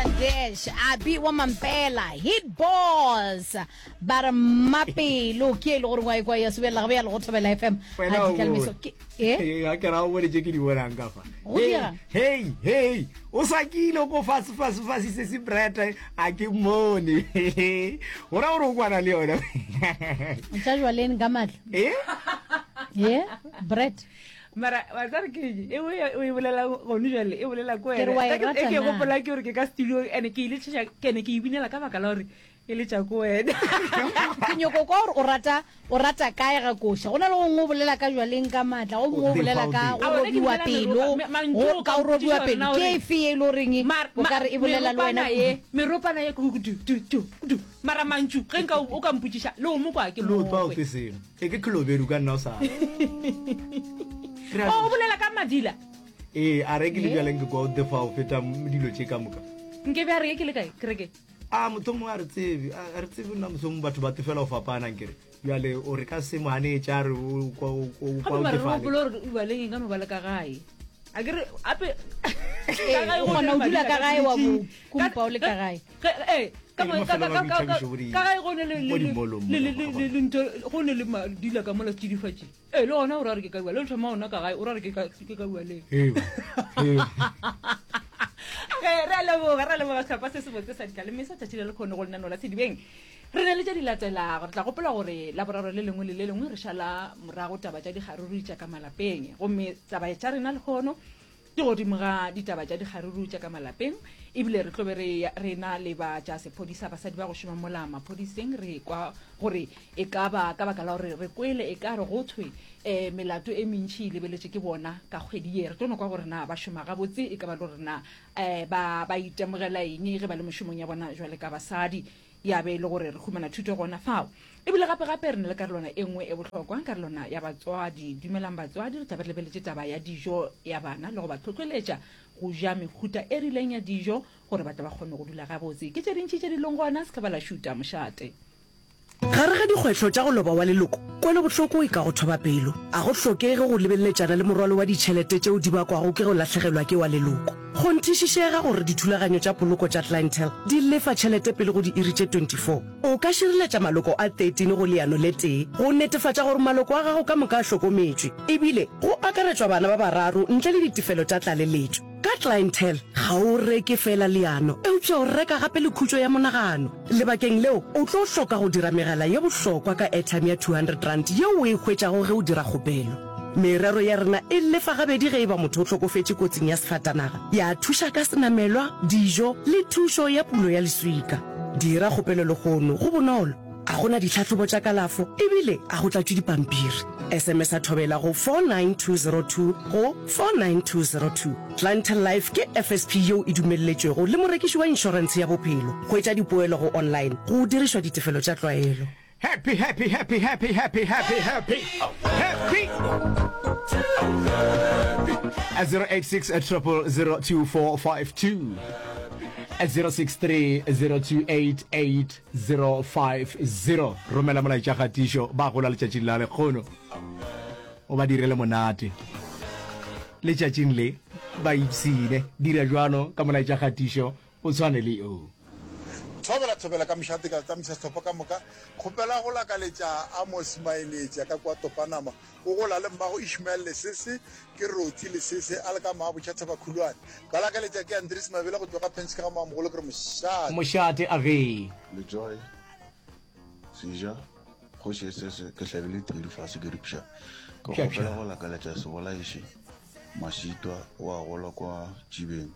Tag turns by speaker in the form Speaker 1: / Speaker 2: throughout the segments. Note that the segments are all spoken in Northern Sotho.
Speaker 1: Dash, Abi wa Mampela, Hit Boss, ba re Mmapelo ke e le gore wa ekwa ya sebelela gabe ya le go thobela FM.
Speaker 2: Wena
Speaker 1: A
Speaker 2: o
Speaker 1: ditla
Speaker 2: bone.
Speaker 1: lemeso ke eh
Speaker 2: Ee, ga ke ra o bone tše ke di bonang ka fa.
Speaker 1: Go
Speaker 2: Hei,
Speaker 1: dirang?
Speaker 2: hei, hei, o sakile ko fase fase fase se se breta a ke mmone. Go ra gore o kwana le yona.
Speaker 1: Tša jwaleng ka matla.
Speaker 2: Eh?
Speaker 1: Eh, bread.
Speaker 3: Mara wa tsare ke eng? E o e o e bolela gone jwale e bolela ko
Speaker 1: Ke re
Speaker 3: wena.
Speaker 1: wa e
Speaker 3: Ka ke
Speaker 1: rata
Speaker 3: e ke
Speaker 1: na?
Speaker 3: gopola ke gore ke ka studio and ke ile tšhetša ke ne ke e binela ka baka la gore e letša ko wena.
Speaker 1: Ke nyoko kwa gore o rata o rata kae ga koša. Go na le gongwe o bolela ka jwaleng ka matla, go mongwe o bolela ka go
Speaker 3: Aowa, nna ke
Speaker 1: robiwa
Speaker 3: bolela
Speaker 1: pelo,
Speaker 3: meropa, me- mantšu
Speaker 1: go
Speaker 3: o
Speaker 1: ka
Speaker 3: ka
Speaker 1: o robiwa
Speaker 3: mpotšiša gore
Speaker 1: pelo.
Speaker 3: na
Speaker 1: Ke
Speaker 3: gore
Speaker 1: efe ye e le goreng
Speaker 3: Mar-
Speaker 1: o
Speaker 3: ma-
Speaker 1: ka re e bolela le wena
Speaker 3: meropana ye meropana ye ke du du du du mara mantšu ge nka o ka mpotšiša le o mo kwa ke
Speaker 2: Le o twa o
Speaker 3: mokwe
Speaker 2: te selo. E ke Kolobedu ka nna o sa.
Speaker 3: O o bolela ka madila.
Speaker 2: Ee, a re ke le bjaleng ke kwa o tefa o feta dilo tše ka moka.
Speaker 3: Nke be a re ke le kae kereke?
Speaker 2: A motho mongwe a re tsebe, a re tsebe nna motho mongwe batho ba tefela go fapana nkere. Bjale o re ka se mo ganetše a re o kwa o kwa
Speaker 3: Gape
Speaker 2: o
Speaker 3: mara re
Speaker 2: tefale.
Speaker 3: gopola gore o baleng e ka no ba le ka gae. A ke re ape
Speaker 1: Ee, o kgona go dula ka gae wa bo kumpa o le ka gae.
Speaker 3: Ee, ka gae go ne le ntho go ne le madila ka mola setsidifatši. Ee, le gona o ra re ke ka bua le thoma ona ka gae o ra re ke ka bua le. Ge re a leboga re a leboga sehlopha se sebotse sa ditlaleme sa tšatši le lekgono go lenaneo la Sedibeng. Re na le tše di latelago. Re tla gopola gore Laboraro le lengwe le le lengwe re šala morago taba tša dikgaruru tša ka malapeng. Gomme taba tša rena lehono di godimo ga ditaba tša dikgaruru tša ka malapeng. Ebile re tlo be re, re na le ba tša sephodisa, basadi ba go šoma mola maphodiseng. Re kwa gore e ka ba ka baka la gore re kwele e ka re go thwe um melato e mentši e lebeletše ke bona ka kgwedi ye. Re tlo no kwa gore na ba šoma gabotse, e ka ba le gore na um ba, ba itemogela eng ge ba le mešomong ya bona jwale ka basadi. Ya be e le gore re humana thuto gona fao. E bile gape-gape re na le karolwana e nngwe e bohlokwa, karolwana ya batswadi. Dumelang batswadi, re tla be re lebeletše taba ya dijo ya bana le go ba hlohleletša go ja mehuta e rileng ya dijo gore ba tle ba kgone go dula gabotse. Ke tše dintši tše di leng gona, se ka ba la šuta mošate.
Speaker 4: Gare ga dikgwehlo tša go loba wa leloko, kwelobohloko e ka go thoba pelo. A go hlokege go lebeleletšana le morwalo wa ditšhelete tšeo di bakwago ke go lahlegelwa ke wa leloko. Kgonthišišega gore dithulaganyo tša poloko tša Clientele di lefa tšhelete pele go diiri tše 24. O ka šireletša maloko a 13 go leano le tee go netefatša gore maloko a gago ka moka a hlokometšwe, ebile go akaretšwa bana ba bararo ntle le ditefelo tša tlaleletšo. Ka Clientele, ga o reke feela leano, eupša o reka gape le khutšo ya monagano. Lebakeng leo, o tlo hloka go dira megala ye bohlokwa ka airtime ya R200 yeo o e hwetšago ge o dira kgopelo. Merero ya rena e lefa gabedi ge e ba motho o hlokofetše kotsing ya sefatanaga, ya thuša ka senamelwa, dijo le thušo ya pulo ya leswika. Dira kgopelo lehono, go bonolo, ga go na ditlhahlobo tša kalafo ebile ga go tlatšwe dipampiri. SMS-a Thobela go 49202 go 49202. Clientele Life ke FSP yeo e dumelletšwego le morekiši wa inšorentshe ya bophelo. Hwetša dipoelo go online go dirišwa ditefelo tša tlwaelo.
Speaker 2: Happy, happy, happy, happy, happy, happy, happy, happy. At 086 0002452 at 063 028 8050 romela molaetša kgatišo ba gola letšatšing la lekgono o ba direle monate letšatšing le ba ipsine dira jwalo ka molaetša kgatišo o tshwane le o
Speaker 5: Thobela thobela ka mošate ka tsamisa sehlopha ka moka. Kgopela go lakaletša Amos Maenetša ka kua Topanama. O gola le mmago Ishmael Lesese, ke Rothy Lesese a le ka Maabotšha Thabakhulwane. Ba lakaletša ke Andries Mabele go tšwa ka Penske ga Moamogolo ke re mošate.
Speaker 2: Mošate a ge.
Speaker 6: Letsoai, Seja, Kgoši Esese, ke hlabile tedu fase ke re pša. Ke kgopela go lakaletša Sebolaiši Mašitwa o a gola kwa Tšibeng.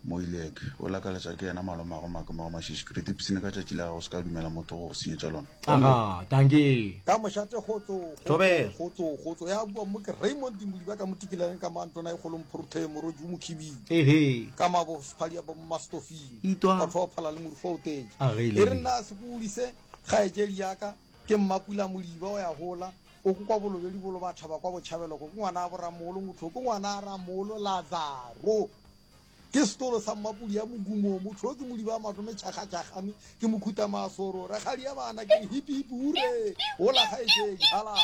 Speaker 6: Moileke, o lakaletša ke yena malomago Makema wa Mašiši. Ke re tipsine ka tšatši la gago, se ka dumela motho go go senyetša lona.
Speaker 2: Aga, dankie.
Speaker 7: Ka mošate kgotso, kgotso,
Speaker 2: Thobela.
Speaker 7: kgotso, kgotso. Ya bua mo ke Raymond Modiba ka mo Tikelane ka mo Antona e kgolo Mphorothe Morodi o Mokhibidu.
Speaker 2: Ehe.
Speaker 7: Ka mabo Sephadi ya bo Mmastofing.
Speaker 2: Itwa.
Speaker 7: Batho ba phala le morufa o teng.
Speaker 2: A ge
Speaker 7: E re
Speaker 2: le.
Speaker 7: nna se kodise kgaetšedi ya ka ke Mmapula Modiba o ya gola o ko kwa Bolobedi bolo ba thaba kwa Botšhabelo ko ke ngwana a boramolo motho ke ngwana a ramolo Lazaro. Ke setolo sa mmapodi ya mogumo, motho yo ke modiba wa matome tšhakgatšhakgane, ke mokhutamaasoro, rakgadi ya bana, ke re hipi hipi hure, hola kgaetšedi, halala.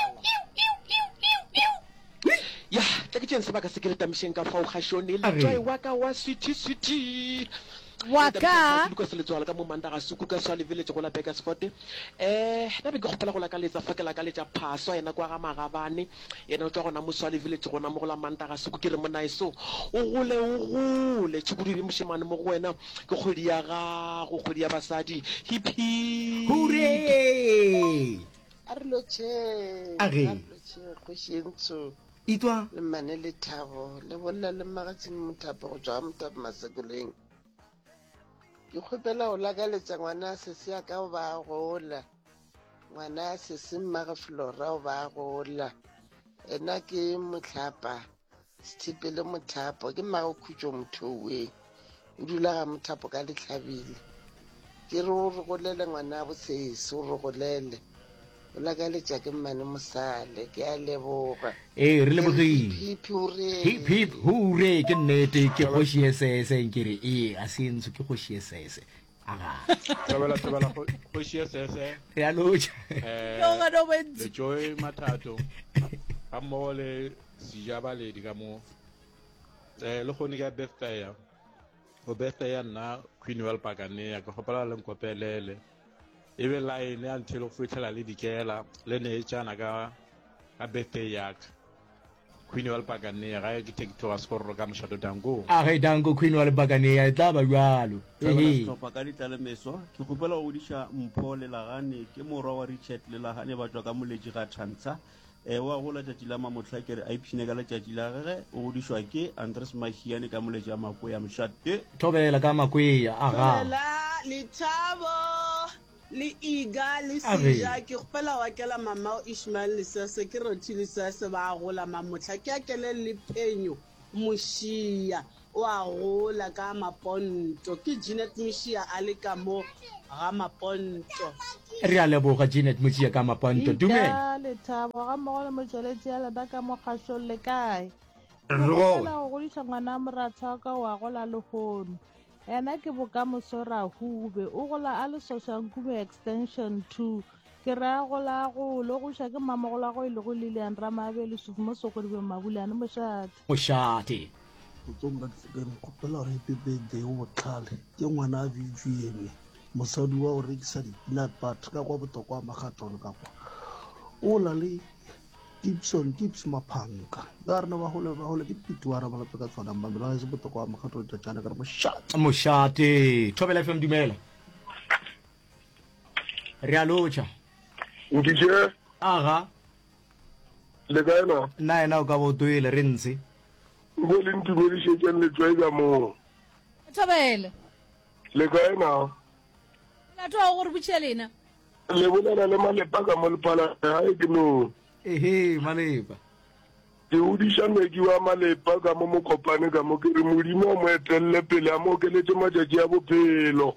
Speaker 8: Ya, tla ke tšeeng sebaka se ke le tamišeng ka fao gašone,
Speaker 2: A re.
Speaker 8: letšwae wa ka wa sweetie sweetie.
Speaker 1: Wa ka.
Speaker 8: Lucas Letsoalo ka mo Mandaga Suku ka Swale Village go la Burgersfort. Eh, nna be ke kgopela go lakaletsa fa ke lakaletša Phaswa yena kwa ga Magabane, yena o tšwa gona mo Swale Village gona mo go la Mandaga Suku. Ke re monaeso o gole o gole, tšhukudu e be mošemane mo go wena, ke kgwedi ya gago, kgwedi ya basadi. Hip hip.
Speaker 2: Hooray!
Speaker 9: A re lotšheng,
Speaker 2: A
Speaker 9: a
Speaker 2: re.
Speaker 9: re lotšheng kgoši ye ntsho
Speaker 2: Itwa.
Speaker 9: le mmane Lethabo le bolela le Mmagatsing Mothapo go tšwa ga Mothapo Masekoleng. Ke kgopela go lakaletša ngwana sesi ya ka o ba gola. Ngwana sesi mmage Flora o ba gola. Ena ke mohlapa Sethipele Mothapo ke mmago Khutšo Mothouweng. O dula ga Mothapo ka Lehlabile. Ke re o re golele ngwana bosesi o re golele. O lakaletša ke mmane Mosale. Ke a leboga.
Speaker 2: Ee, re lebogile.
Speaker 9: Hip hip hooray.
Speaker 2: Hip hip hooray ke nnete ke kgoši ye sese nkere ee a se ntsho ke kgoši ye sese. Aga.
Speaker 10: Thobela thobela kgoši ye sese.
Speaker 2: Re a lotša.
Speaker 10: Eh, le Joy Mathato ga mmogo le Sija Baledi ka mo. Eh, le kgone ka birthday ya. O birthday ya nna Queen Well Pakanea ke kgopela le nkopelele. E be line ya until go fihlela le dikela le neetšana ka ka birthday ya ka. Queen wa Lepakanea gae ke take tloga sekororo ka mošato danko.
Speaker 2: A ge danko Queen wa Lepakanea e tla ba bjalo.
Speaker 11: Thabela
Speaker 2: Ehe.
Speaker 11: sehlopha ka ditlalemeso. Ke kgopela go godiša Mpho Lelagane, ke morwa wa Richard Lelagane ba tšwa ka Moletši ga Thantsha. E, o a gola tšatši la mamohla ke re a ipshine ka letšatši la gage. O godišwa ke Andres Mahiane ka Moletši a Makwea Mošate.
Speaker 2: Thobela ka Makwea, aga.
Speaker 12: Thobela, Lethabo, le Iga, le
Speaker 2: A re.
Speaker 12: Seja, ke kgopela go akela mamao Ishmael Lesese, ke Rothi Lesese, ba a gola mamohla. Ke akele le Phenyo Mošia, o a gola ka Maponto. Ke Jeanette Mošia a le ka mo ga Maponto.
Speaker 2: Re a leboga Jeanette Mošia ka Maponto. Dumela.
Speaker 13: Iga, Lethabo, gammogo le motšweletši ya lena ka mo kgašong le kae? Ke
Speaker 2: Re
Speaker 13: kgopela
Speaker 2: gona.
Speaker 13: go godiša ngwana moratho wa ka o a gola lehono. Yena ke bokamoso Rahube. O gola a le Soshanguve Extension 2. Ke re a gola a gole. O goša ke mmamogolwagwe e lego Lilian Ramabe Lesufi mo Sokodibeng Mabulane Mošate.
Speaker 2: Mošate.
Speaker 14: Motsong ka Tlhekeng kgopela gore happy birthday o botlhale ke ngwana a Vivian mosadi wa go rekisa di-peanut butter ka kwa botokwa magatone ka kwa o la le Gibson Gibbs Maphanka ba rena ba gole ba gole ke piti wa rena ba ka tshwanang ba mela se botokwa wa makgatho tšatšana ka re mošate
Speaker 2: Mošate. Thobela FM dumela. Re a lotšha.
Speaker 15: Nkitše.
Speaker 2: Aga.
Speaker 15: Le kae na?
Speaker 2: Nna yena o ka bo toile re ntshe.
Speaker 15: Nko le ntumedišetšeng letswai ka moo.
Speaker 1: Thobela.
Speaker 15: Le kae na?
Speaker 1: Molato wa go re botšiša lena.
Speaker 15: Le bolela le Malepa ka mo Lephalale, gae ke no.
Speaker 2: Ehe, Malepa.
Speaker 15: Ke godiša Meki wa Malepa ka mo Mokopane ka mo, ke re Modimo a mo etelle pele, a mo okeletše matšatši a bophelo.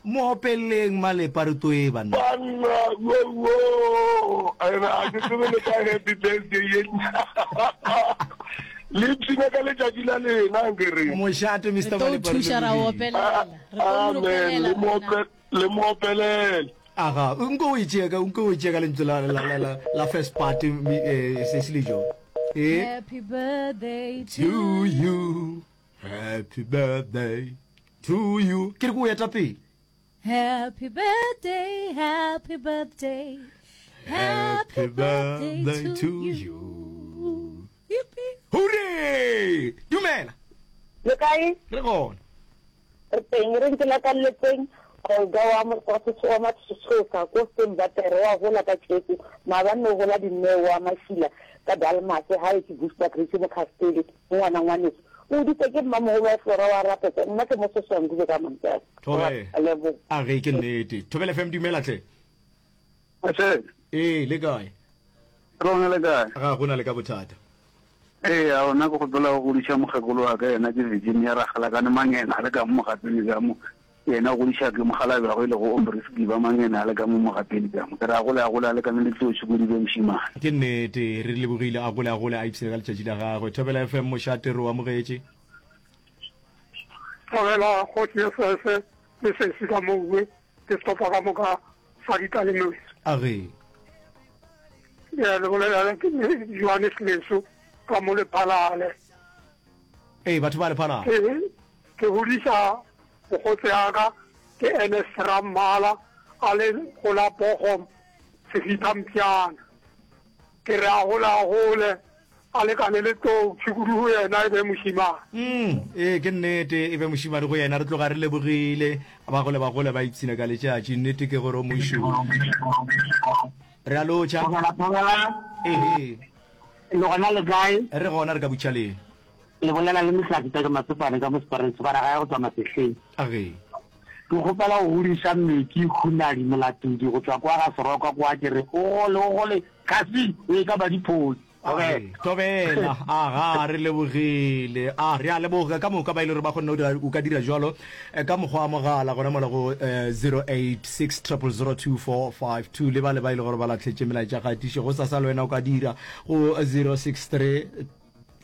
Speaker 2: Mo opeleleng Malepa re toe banna.
Speaker 15: Banna, wo wo, ena a ke tsebe le ka happy birthday ye nna. Le ipshine ka letšatši la lena nke re.
Speaker 2: Mošate Mister
Speaker 1: Re tlo
Speaker 2: Malepa re
Speaker 1: thuša ra
Speaker 2: lebogile.
Speaker 1: opelela. Re tlo mo
Speaker 15: Amen,
Speaker 1: lopelela
Speaker 15: le mo
Speaker 1: rena.
Speaker 15: ope- le mo opelele.
Speaker 2: Aga, nko o e tšea ka nko o e tšea ka lentswe la la la la, la first part mi- eh, se se le jo. Eh,
Speaker 1: Happy birthday to
Speaker 2: to you. Happy birthday to you. Ke re ke o eta pele.
Speaker 1: Happy birthday, happy birthday.
Speaker 2: Happy birthday to you.
Speaker 1: Yippee.
Speaker 2: Hooray! Dumela.
Speaker 16: Le kae?
Speaker 2: Re gona.
Speaker 16: Re teng, re ntse lakalletseng Olga wa wa Matshosa ko Stembatere wa gola ka tšeku maabane o gola Dineo wa Mašila ka Dalmas hae ke Booster Grace mo Castele ngwana ngwaneso o hoditse ke mmamogolo wa Flora wa Rapetsa nna ke mo Soshanguve ka Mantšane
Speaker 2: Thobela.
Speaker 16: A leboga.
Speaker 2: A ge ke nnete. Thobela FM dumela hle.
Speaker 17: Ase.
Speaker 2: Ee, le kae?
Speaker 17: Rona le kae?
Speaker 2: Ga go na le ka bothata.
Speaker 17: Ee, a ona ke kgopela go godiša mokgekolo wa ka yena ke Virginia Ragalakane Mangena a le ka mo Mogapeni ka mo. Yena o godiša ke mokgalabje wa gagwe e lego Aubrey Sekiba Mangena a le ka mo Mogapeni ka mo. Ke re a gole a gole a lekane le Tsoši Kodibe mošemane.
Speaker 2: Ke nnete, re lebogile a gole a gole a ipshine ka letšatši la gagwe. Thobela FM mošate re o amogetše.
Speaker 18: Thobela kgoši ye sese le sesi ka mouwe le sehlopha ka moka sa ditalemeso.
Speaker 2: A re.
Speaker 18: Ya le bolela ke Johannes Leso ka mo Lephalale.
Speaker 2: Ee, batho ba Lephalale.
Speaker 18: Ee. Ke godiša mokgotse ya ka ke Ernest Rammala a le go la Bochum Sefitha Mpšana. Ke re a gole a gole a lekane le tlou tšhukudu go yena e be mošimane.
Speaker 2: Mm, ee ke nnete e be mošimane go yena re tloga re lebogile ba gole ba gole ba ipshina ka letšatši nnete ke gore o mošu re a lotšha
Speaker 19: Thobela, thobela.
Speaker 2: Ehe.
Speaker 19: Le gona le kae?
Speaker 2: Re gona re ka butšhaleng.
Speaker 19: Le bolela le Mehlatse Tate Matsopane ka mo Separeng Separa gae go tšwa Masehleng.
Speaker 2: Age.
Speaker 19: Ke kgopela go godiša Meki Khunadi Molatodi go tšwa kwa ga Seroka kwa ke re o gole o gole kasi o e ka ba diphodi.
Speaker 2: Age. Thobela. Aga re lebogile. A re a leboga ka moka ba ile gore ba kgonne go dira o ka dira jwalo eh, ka mokgwa wa mogala gona mola go eh, 086 000 2452 le ba le ba ile gore ba latlhetše melaetša kgatišo go sasa le wena o ka dira go 063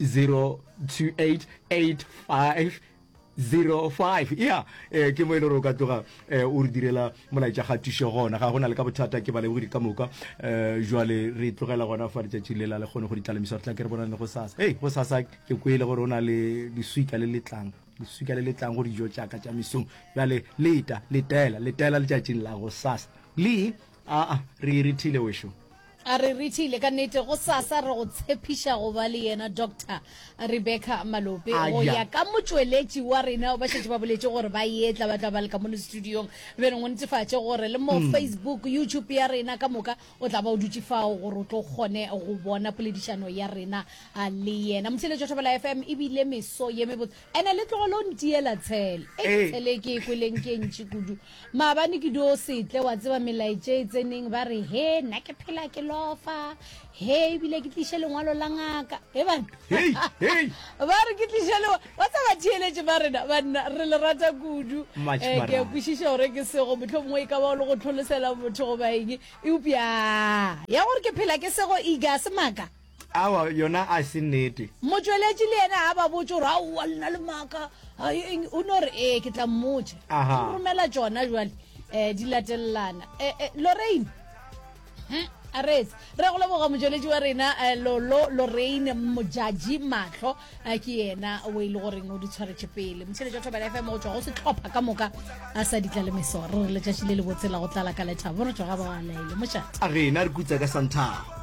Speaker 2: 0288505 ya eh, ke mo e le gore o ka tloga eh, o re direla molaetša kgatišo gona ga go na le ka bothata ke balebogedi ka moka eh, jwale re tlogela gona fa letšatši le la le kgone go ditlalemisa re tla ke re bonane go sasa ei go sasa ke kwele gore o na le leswika le letlang leswika le letlang go dijo tšaka tša mesong bjale leta letela letela letšatšing la go sasa le aa re irithile wešo
Speaker 1: A re rithile ka nnete go sasa re go tshepiša go ba le yena Doctor Rebecca Malope go ya ka motšweletši wa rena ba šetše ba boletše gore ba etla ba tla ba le ka mono studiong bjale go netefatše gore le mo mm. Facebook YouTube ya rena ka moka o tla ba o dutše fao gore o tlo kgone go bona poledišano ya rena le yena motheletšo Thobela FM ebile meso ye mebotse ene le tlogelo ntiela tshele e tshele ke e kweleng ke ntši kudu Maabane ke dio setle wa tseba melaetše e tseneng ba re he nna ke phela ke lofa he ebile ke tliše lengwalo la ngaka he bana ba re ke tliše le wa tseba theeletše ba rena banna re le rata kudu eh, ke a kwešiša gore ke sego motlho mongwe e ka ba o le go tlholosela motho goba eng eupša ya gore ke phela ke sego iga se maaka
Speaker 2: Aowa, yona a se nnete.
Speaker 1: Motšweletši le yena ga ba botše gore aowa le na le maaka, eng, o no re ee ke tla mmotša.
Speaker 2: Aha.
Speaker 1: O romela tšona jwale um di latelelana. Eh, eh, Lorraine, hm, a reetse. Re go leboga motšweletši wa rena eh, Lolo Lorraine Mojaji Mahlo eh, ke yena o e le goreng o di tshwaretše pele. Motšheletši wa Thobela FM go tšwa go sehlopha ka moka a sa ditla le meso. Re re letšatši le lebotse la go tlala ka lethabo re tšwa ga ba laele mošate.
Speaker 2: A rena re kutsa ka santhao.